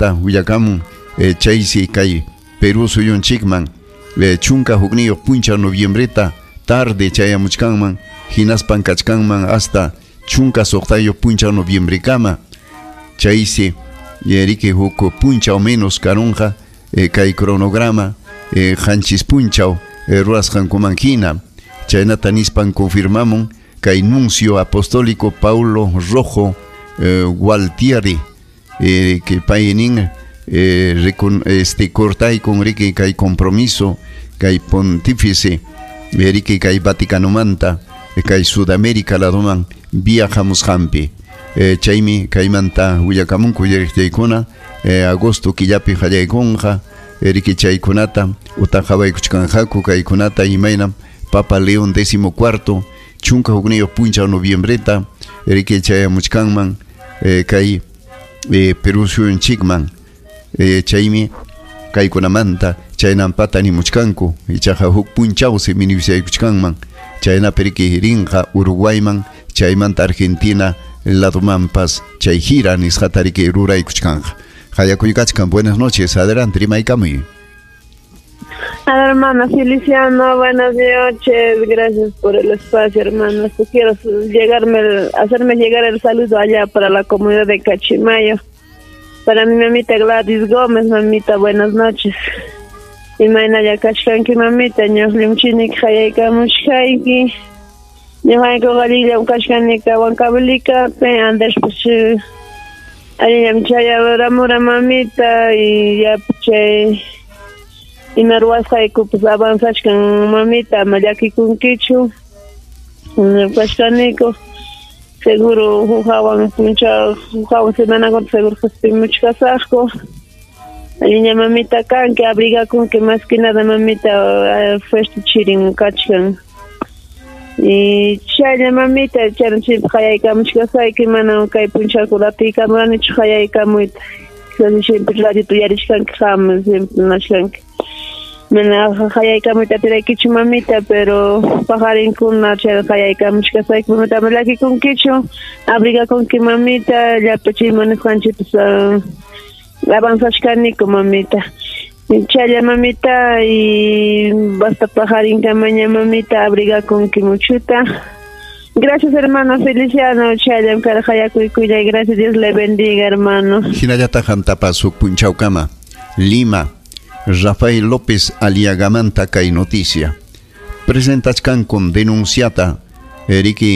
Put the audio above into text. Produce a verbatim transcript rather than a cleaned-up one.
Kaymanta willakamun eh, chaysi kay Perú suyunchikman eh, chunka hukniyuq punchaw noviembreta tarde chayamuchkanman hinaspan kachkanman hasta chunka suqtayuq punchaw noviembrekama chaysi riki huk punchaw menos karunqa eh, kay cronograma eh, qanchis punchaw eh, rurasqankuman hina chaynata nispan confirmamun kay nuncio apostólico Paulo Rojo eh, Gualtieri eh, que pay nin eh, recon, este cortaykun riki kay compromiso kay pontífice riki kay Vaticanomanta kay Sudamérica ladoman viajamusqanpi eh, chaymi kaymanta willakamunku uyariqtiykuna eh, agosto killapi qallaykunqa riki chaykunata utaq qhawaykuchkanqaku kaykunata imaynam Papa León décimo cuarto chunka hukniyuq punchaw noviembreta riki chayamuchkanman eh, kay eh, Perú suyunchikman eh, chaymi kaykunamanta chaynampata nimuchkanku ichaqa huk punchawsi minusaykuchkanman chaynapi riki rinqa Uruguayman chaymanta Argentina ladomanpas chay gira nisqata riki ruraykuchkanqa. Qayakuykachkan, buenas noches, adelante, rimaykamuy. Hermano Feliciano, buenas noches, gracias por el espacio, hermano. Quiero llegarme, hacerme llegar el saludo allá para la comunidad de Cachimayo. Para mi mamita Gladys Gómez, mamita, buenas noches. Imaynalla kachkanki mamita, ñuqllimchinik hayaykamuchkayki. Ñuqaykuqa allillam kachkanika Huancavelicapi, Andrés pues allillam chayaramura mamita y ya chay ima ruwasqayku pues avanzachkan mamita, ama llakikunkichu. Kachkaniku seguro huk hawan punchaw, huk hawan semanakunata seguro qispimuchkasaqku. Alliña mamita kanki, abrigakunki más que nada mamita, fuerte chirin kachkan. Y chaylla mamita, chayna chaypi qayaykamuchkasayki, mana kay punchawkuna atiykamuranichu qayaykamuyta. Siempre radiota uyarishkanki qam, siempre nashkanki. Mana qayaykamuyta atiraykichu mamita, pero paqarinkuna chayna qayaykamuchkasayki, mamita ama llakikunkichu, abrigakunki mamita, llapa chay munasqanchikpas avanzachkaniku mamita. Chaylla mamita y basta paqarinkamaña mamita, abrigakunki muchuta. Gracias, hermano Feliciano, chayllam karqa qayakuykuyllay, gracias, Dios le bendiga, hermano. Hinallataq qamtapas huk punchawkama, Lima, Rafael López Aliagamanta kay noticia. Presentachkankum denunciata riki